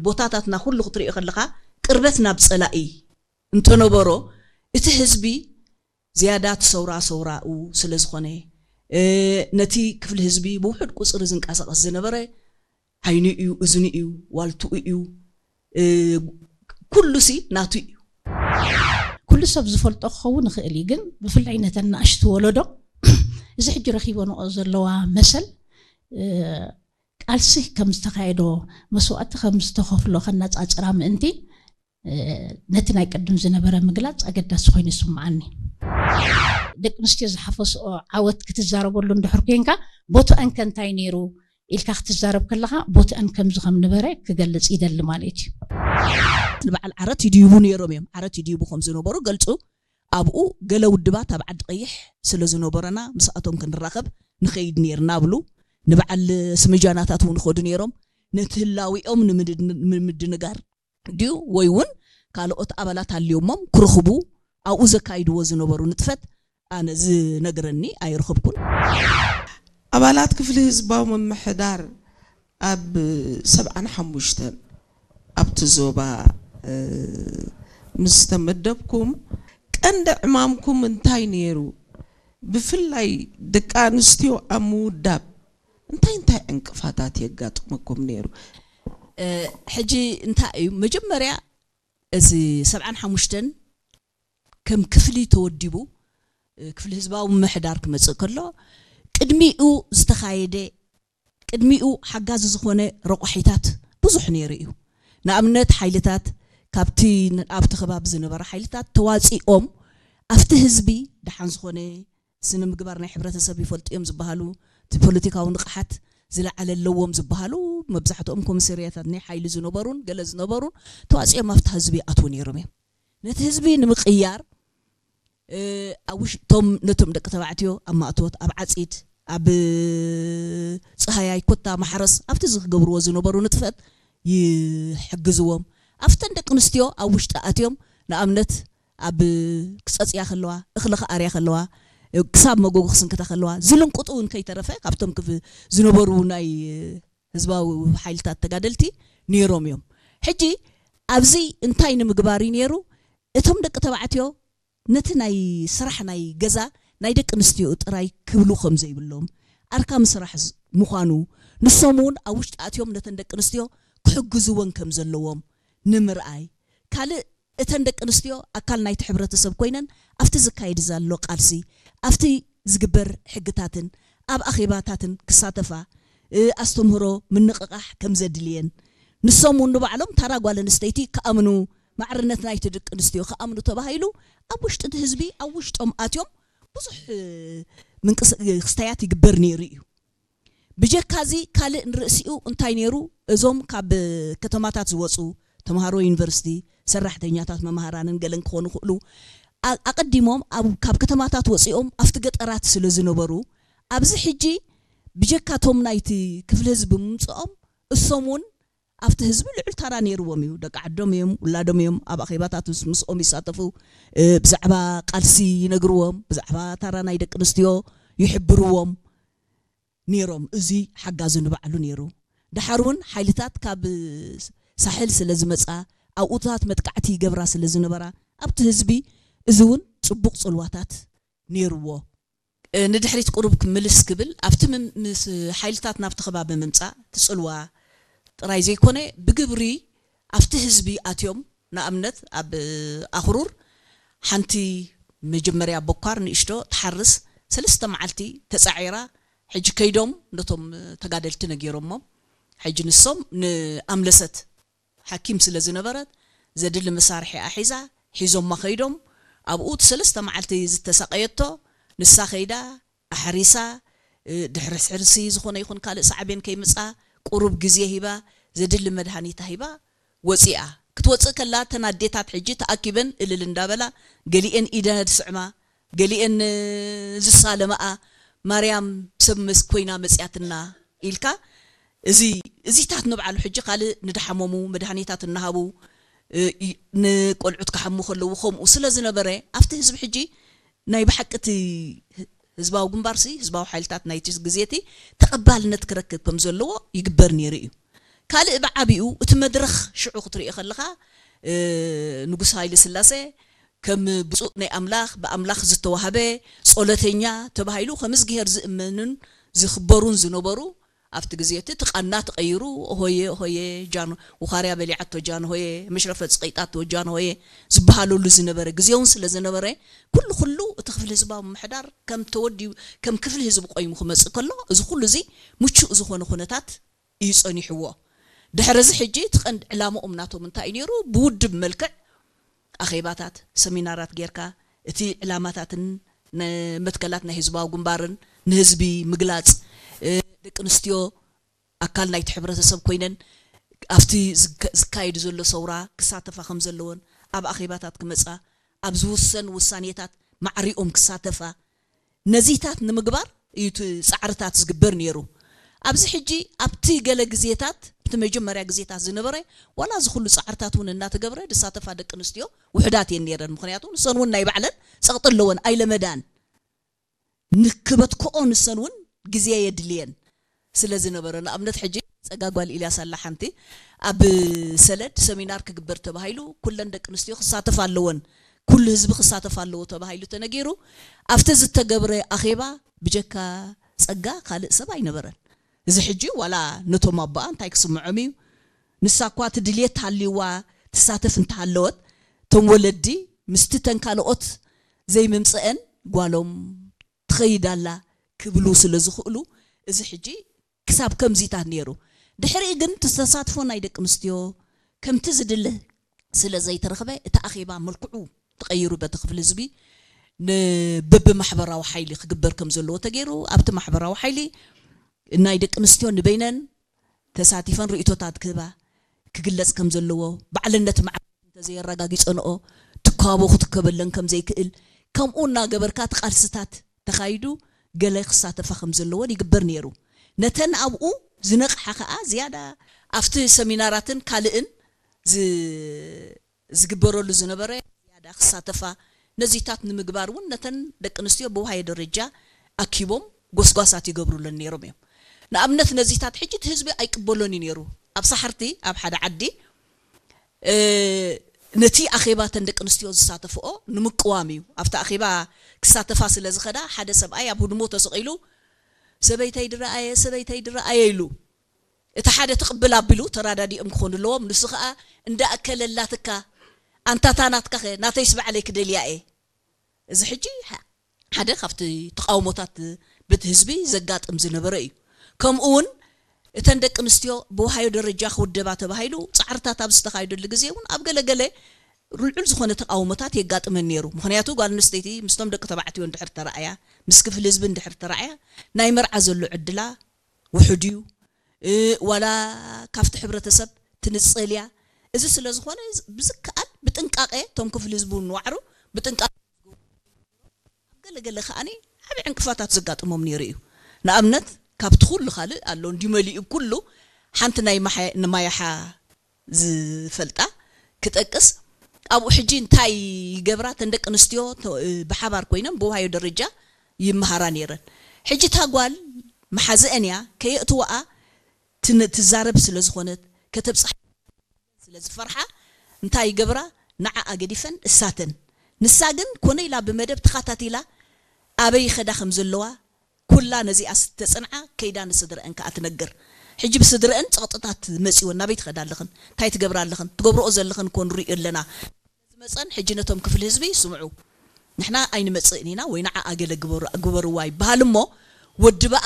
ቦታታትና ኩሉ ክትሪኦ ከለኻ ቅርበት ናብ ጸላኢ እንተነበሮ እቲ ህዝቢ ዝያዳ እቲ ሰውራ ሰውራኡ ስለ ዝኾነ ነቲ ክፍሊ ህዝቢ ብውሑድ ቁፅሪ ዝንቀሳቐስ ዝነበረ ዓይኑ እዩ፣ እዝኑ እዩ፣ ዋልትኡ እዩ፣ ኩሉሲ ናቱ እዩ። ኩሉ ሰብ ዝፈልጦ ክኸውን ይኽእል እዩ፣ ግን ብፍላይ ነተን ንኣሽቱ ወለዶ እዚ ሕጂ ረኺበንኦ ዘለዋ መሰል ቃልሲ ከም ዝተኻየዶ፣ መስዋእቲ ከም ዝተኸፍሎ ከነጻጽራ ምእንቲ ነቲ ናይ ቅድም ዝነበረ ምግላጽ ኣገዳሲ ኮይኑ ይስምዓኒ። ደቂ ኣንስትዮ ዝሓፈስኦ ዓወት ክትዛረበሉ እንድሕር ኮንካ ቦትአን ከ እንታይ ነይሩ ኢልካ ክትዛረብ ከለኻ ቦትአን ከምዚ ከም ነበረ ክገልጽ ይደሊ ማለት እዩ። ንበዓል ዓረት ይድይቡ ነይሮም እዮም። ዓረት ይድይቡ ከም ዝነበሩ ገልጹ። ኣብኡ ገለ ውድባት ኣብ ዓዲ ቀይሕ ስለ ዝነበረና ምስኣቶም ክንራኸብ ንኸይድ ነይርና ብሉ። ንበዓል ስምጃናታት እውን ይኸዱ ነይሮም። ነቲ ህላዊኦም ንምድንጋር ድዩ ወይ እውን ካልኦት ኣባላት ኣልዮሞም ክርኽቡ ኣብኡ ዘካይድዎ ዝነበሩ ንጥፈት ኣነ ዝነግረኒ ኣይረኸብኩን። ኣባላት ክፍሊ ህዝባዊ ምምሕዳር ኣብ ሰብዓን ሓሙሽተን ኣብቲ ዞባ ምስ ተመደብኩም ቀንዲ ዕማምኩም እንታይ ነይሩ? ብፍላይ ደቂ ኣንስትዮ ኣብ ምውዳብ እንታይ እንታይ ዕንቅፋታት የጋጥመኩም ነይሩ? ሕጂ እንታይ እዩ መጀመርያ እዚ ሰብዓን ሓሙሽተን ከም ክፍሊ ተወዲቡ ክፍሊ ህዝባዊ ምምሕዳር ክመፅእ ከሎ ቅድሚኡ ዝተኻየደ ቅድሚኡ ሓጋዚ ዝኾነ ረቋሒታት ብዙሕ ነይሩ እዩ። ንኣብነት ሓይልታት ካብቲ ኣብቲ ከባቢ ዝነበረ ሓይልታት ተዋፂኦም ኣብቲ ህዝቢ ደሓን ዝኾነ ስነ ምግባር ናይ ሕብረተሰብ ይፈልጡ እዮም ዝበሃሉ እቲ ፖለቲካዊ ንቕሓት ዝለዓለ ኣለዎም ዝበሃሉ መብዛሕትኦም ኮሚሰርያታት ናይ ሓይሊ ዝነበሩን ገለ ዝነበሩን ተዋፂኦም ኣብቲ ህዝቢ ይኣትዉ ነይሮም እዮም። ነቲ ህዝቢ ንምቕያር ኣብ ውሽጦም ነቶም ደቂ ተባዕትዮ ኣብ ማእቶት ኣብ ዓፂድ ኣብ ፀሃያይ ኮታ ማሕረስ ኣብቲ ዝገብርዎ ዝነበሩ ንጥፈት ይሕግዝዎም። ኣብተን ደቂ ኣንስትዮ ኣብ ውሽጢ ኣትዮም ንኣብነት ኣብ ክፀፅያ ከለዋ እኽሊ ክኣርያ ከለዋ ክሳብ መጎጎ ክስንክታ ከለዋ ዝልንቅጡ እውን ከይተረፈ ካብቶም ዝነበሩ ናይ ህዝባዊ ሓይልታት ተጋደልቲ ነይሮም እዮም። ሕጂ ኣብዚ እንታይ ንምግባር እዩ ነይሩ? እቶም ደቂ ተባዕትዮ ነቲ ናይ ስራሕ ናይ ገዛ ናይ ደቂ ኣንስትዮ ጥራይ ክብሉ ከም ዘይብሎም ኣርካሚ ስራሕ ምዃኑ ንሶም እውን ኣብ ውሽጢ ኣትዮም ነተን ደቂ ኣንስትዮ ክሕግዝወን ከም ዘለዎም ንምርኣይ ካልእ እተን ደቂ ኣንስትዮ ኣካል ናይቲ ሕብረተሰብ ኮይነን ኣብቲ ዝካየድ ዘሎ ቃልሲ ኣብቲ ዝግበር ሕግታትን ኣብ ኣኼባታትን ክሳተፋ ኣስተምህሮ ምንቕቓሕ ከም ዘድልየን ንሶም እውን ንባዕሎም ታራ ጓል ኣንስተይቲ ክኣምኑ ማዕርነት ናይቲ ደቂ ኣንስትዮ ክኣምኑ ተባሂሉ ኣብ ውሽጢ እቲ ህዝቢ ኣብ ውሽጦም ኣትዮም ብዙሕ ምንቅስክስታያት ይግበር ነይሩ እዩ። ብጀካዚ ካልእ ንርእሲኡ እንታይ ነይሩ እዞም ካብ ከተማታት ዝወፁ ተምሃሮ ዩኒቨርሲቲ ሰራሕተኛታት መምሃራንን ገለን ክኾኑ ክእሉ ኣቐዲሞም ካብ ከተማታት ወፂኦም ኣብቲ ገጠራት ስለ ዝነበሩ ኣብዚ ሕጂ ብጀካቶም ናይቲ ክፍሊ ህዝቢ ምምፅኦም እሶም እውን ኣብቲ ህዝቢ ልዑል ታራ ነይርዎም እዩ። ደቂ ዓዶም እዮም፣ ውላዶም እዮም። ኣብ ኣኼባታት ምስኦም ይሳተፉ፣ ብዛዕባ ቃልሲ ይነግርዎም፣ ብዛዕባ ታራ ናይ ደቂ ኣንስትዮ ይሕብርዎም ነይሮም። እዚ ሓጋዚ ንባዕሉ ነይሩ። ደሓር እውን ሓይልታት ካብ ሳሕል ስለ ዝመፃ ኣብኡታት መጥቃዕቲ ይገብራ ስለ ዝነበራ ኣብቲ ህዝቢ እዚ እውን ፅቡቕ ፅልዋታት ነይርዎ። ንድሕሪት ቁሩብ ክምልስ ክብል ኣብቲ ምስ ሓይልታት ናብቲ ከባቢ ምምፃእ ትፅልዋ ጥራይ ዘይኮነ ብግብሪ ኣብቲ ህዝቢ ኣትዮም ንኣብነት ኣብ ኣኽሩር ሓንቲ መጀመርያ ቦኳር ንእሽቶ ትሓርስ ሰለስተ መዓልቲ ተፃዒራ ሕጂ ከይዶም ነቶም ተጋደልቲ ነጊሮሞም ሕጂ ንሶም ንኣምለሰት ሓኪም ስለ ዝነበረት ዘድሊ መሳርሒኣ ሒዛ ሒዞማ ከይዶም ኣብኡ እቲ ሰለስተ መዓልቲ ዝተሳቐየቶ ንሳ ከይዳ ኣሕሪሳ ድሕሪ ሕርሲ ዝኾነ ይኹን ካልእ ሳዕቤን ከይምፃ ቁሩብ ግዜ ሂባ ዘድሊ መድሃኒታ ሂባ ወፂኣ ክትወፅእ ከላ እተን ኣዴታት ሕጂ ተኣኪበን እልል እንዳበላ ገሊኤን ኢደ ድስዕማ ገሊኤን ዝሳለማኣ ማርያም ሰብ መስ ኮይና መፅያትና ኢልካ እዚ እዚታት ንብዓሉ ሕጂ ካልእ ንድሓመሙ መድሃኒታት እናሃቡ ንቆልዑት ክሓሙ ከለዉ ከምኡ ስለ ዝነበረ ኣብቲ ህዝቢ ሕጂ ናይ ብሓቂ እቲ ህዝባዊ ግንባርሲ ህዝባዊ ሓይልታት ናይቲ ግዜ እቲ ተቐባልነት ክረክብ ከም ዘለዎ ይግበር ነይሩ እዩ። ካልእ ብዓቢኡ እቲ መድረኽ ሽዑ ክትርኢ ከለኻ ንጉስ ሃይለ ስላሴ ከም ብፁዕ ናይ ኣምላኽ ብኣምላኽ ዝተዋህበ ጸሎተኛ ተባሂሉ ከም እግዚኣብሔር ዝእመንን ዝኽበሩን ዝነበሩ ኣብቲ ግዜ እቲ ቃና ተቐይሩ ሆየ ሆየ ጃን ውኻርያ በሊዓቶ ጃን ሆየ መሽረፈት ጸቒጣቶ ጃን ሆየ ዝበሃለሉ ዝነበረ ግዜ እውን ስለ ዝነበረ ኩሉ ኩሉ እቲ ክፍሊ ህዝባዊ ምምሕዳር ከም ተወዲቡ ከም ክፍሊ ህዝቢ ቆይሙ ክመጽእ ከሎ እዚ ኩሉ እዚ ምቹእ ዝኾነ ኩነታት እዩ ጸኒሕዎ። ድሕሪ እዚ ሕጂ እቲ ቀንዲ ዕላምኦም ናቶም እንታይ እዩ ነይሩ? ብውድብ መልክዕ ኣኼባታት፣ ሰሚናራት ጌርካ እቲ ዕላማታትን መትከላት ናይ ህዝባዊ ግንባርን ንህዝቢ ምግላጽ፣ ደቂ ኣንስትዮ ኣካል ናይቲ ሕብረተሰብ ኮይነን ኣብቲ ዝካየድ ዘሎ ሰውራ ክሳተፋ ከም ዘለወን ኣብ ኣኼባታት ክመጻ ኣብ ዝውሰን ውሳኔታት ማዕሪኦም ክሳተፋ ነዚታት ንምግባር እዩ እቲ ጻዕርታት ዝግበር ነይሩ። ኣብዚ ሕጂ ኣብቲ ገለ ግዜታት እቲ መጀመርያ ግዜታት ዝነበረ ዋላ እዚ ኩሉ ጻዕርታት እውን እናተገብረ ዝሳተፋ ደቂ ኣንስትዮ ውሕዳት እየን ነይረን። ምክንያቱ ንሰን እውን ናይ ባዕለን ጸቕጢ ኣለወን ኣይለመዳን ንክበትክኦ ንሰን እውን ግዜ የድልየን ስለ ዝነበረ ንኣብነት ሕጂ ጸጋ ጓል ኢልያስ ኣላ ሓንቲ ኣብ ሰለድ ሰሚናር ክግበር ተባሂሉ ኩለን ደቂ ኣንስትዮ ክሳተፍ ኣለወን ኩሉ ህዝቢ ክሳተፍ ኣለዎ ተባሂሉ ተነጊሩ ኣብቲ ዝተገብረ ኣኼባ ብጀካ ጸጋ ካልእ ሰብ ኣይነበረን እዚ ሕጂ ዋላ ነቶም ኣቦኣ እንታይ ክስምዖም እዩ ንሳ እኳ እቲ ድልየት ሃልይዋ ትሳተፍ እንተሃለወት እቶም ወለዲ ምስቲ ተን ካልኦት ዘይምምፀአን ጓሎም ትኸይድ ኣላ ክብሉ ስለ ዝኽእሉ እዚ ሕጂ ክሳብ ከምዚታት ነይሩ ድሕሪኡ ግን እቲ ተሳትፎ ናይ ደቂ ኣንስትዮ ከምቲ ዝድለ ስለ ዘይተረኽበ እቲ ኣኼባ መልክዑ ተቐይሩ በቲ ክፍሊ ህዝቢ ንብብማሕበራዊ ሓይሊ ክግበር ከም ዘለዎ ተገይሩ ኣብቲ ማሕበራዊ ሓይሊ ናይ ደቂ ኣንስትዮ ንበይነን ተሳቲፈን ርእቶታት ክህባ ክግለጽ ከም ዘለዎ ባዕልነት ማዕረ እንተዘየረጋጊጸንኦ ትካቦ ክትከበለን ከም ዘይክእል ከምኡ እናገበርካ እቲ ቃልስታት ተኻይዱ ገለ ክሳተፋ ከም ዘለወን ይግበር ነይሩ ነተን ኣብኡ ዝነቕሓ ከኣ ዝያዳ ኣብቲ ሰሚናራትን ካልእን ዝግበረሉ ዝነበረ ዝያዳ ክሳተፋ ነዚታት ንምግባር እውን ነተን ደቂ ኣንስትዮ ብውሃየ ደረጃ ኣኪቦም ጎስጓሳት ይገብሩለን ነይሮም እዮም ንኣብነት ነዚታት ሕጂ እቲ ህዝቢ ኣይቅበሎን እዩ ነይሩ ኣብ ሳሕርቲ ኣብ ሓደ ዓዲ ነቲ ኣኼባ ተን ደቂ ኣንስትዮ ዝሳተፍኦ ንምቅዋም እዩ ኣብቲ ኣኼባ ክሳተፋ ስለ ዝኸዳ ሓደ ሰብኣይ ኣብ ህድሞ ተሰቒሉ ሰበይተይ ድረኣየ ሰበይተይ ድረኣየ ኢሉ እቲ ሓደ ትቕብል ኣቢሉ ተራዳዲኦም ክኾኑ ኣለዎም ንሱ ከዓ እንዳኣከለላትካ ኣንታታ ናትካኸ ናተይስ ባዕለይ ክደልያ እየ እዚ ሕጂ ሓደ ካብቲ ተቃውሞታት ብቲ ህዝቢ ዘጋጥም ዝነበረ እዩ ከምኡ እውን እተን ደቂ ኣንስትዮ ብውሃዮ ደረጃ ክውደባ ተባሂሉ ፃዕርታት ኣብ ዝተኻየደሉ ግዜ እውን ኣብ ገለገለ ልዑል ዝኾነ ተቃውሞታት የጋጥመን ነይሩ ምክንያቱ ጓል ኣንስተይቲ ምስቶም ደቂ ተባዕትዮ እንድሕር ተረኣያ ምስ ክፍሊ ህዝቢ እንድሕር ተረኣያ ናይ መርዓ ዘሎ ዕድላ ውሑድ እዩ ዋላ ካብቲ ሕብረተሰብ ትንፀል እያ እዚ ስለ ዝኾነ ብዝከኣል ብጥንቃቄ እቶም ክፍሊ ህዝቡ ንዋዕሩ ብጥንቃቄ ኣብ ገለገለ ከዓኒ ዓብዪ ዕንቅፋታት ዘጋጥሞም ነይሩ እዩ ንኣብነት ካብቲ ኩሉ ካልእ ኣሎ እንዲ መሊኡ ኩሉ ሓንቲ ናይ ማያሓ ዝፈልጣ ክጠቅስ ኣብኡ ሕጂ እንታይ ይገብራ ተን ደቂ ኣንስትዮ ብሓባር ኮይነን ብውሃዮ ደረጃ ይመሃራ ነይረን ሕጂ እታ ጓል መሓዝአን እያ ከየእትወኣ ትዛረብ ስለ ዝኾነት ከተብፅሓ ስለ ዝፈርሓ እንታይ ይገብራ ንዓኣ ገዲፈን እሳተን ንሳ ግን ኮነ ኢላ ብመደብ ተኻታቲላ ኣበይ ይኸዳ ከም ዘለዋ ኩላ ነዚኣ ዝተፅንዓ ከይዳ ንስድረአን ከዓ ትነግር ሕጂ ብስድረአን ፀቕጥታት መፂወን ናበይ ትኸዳ ኣለኽን እንታይ ትገብራ ኣለኽን ትገብርኦ ዘለኽን እኮ ንሪኦ ኣለና ዝመፀን ሕጂ ነቶም ክፍሊ ህዝቢ ስምዑ ንሕና ኣይንመፅእን ኢና ወይ ንዓኣ ገለ ግበርዋ ይበሃል እሞ ወዲ በኣ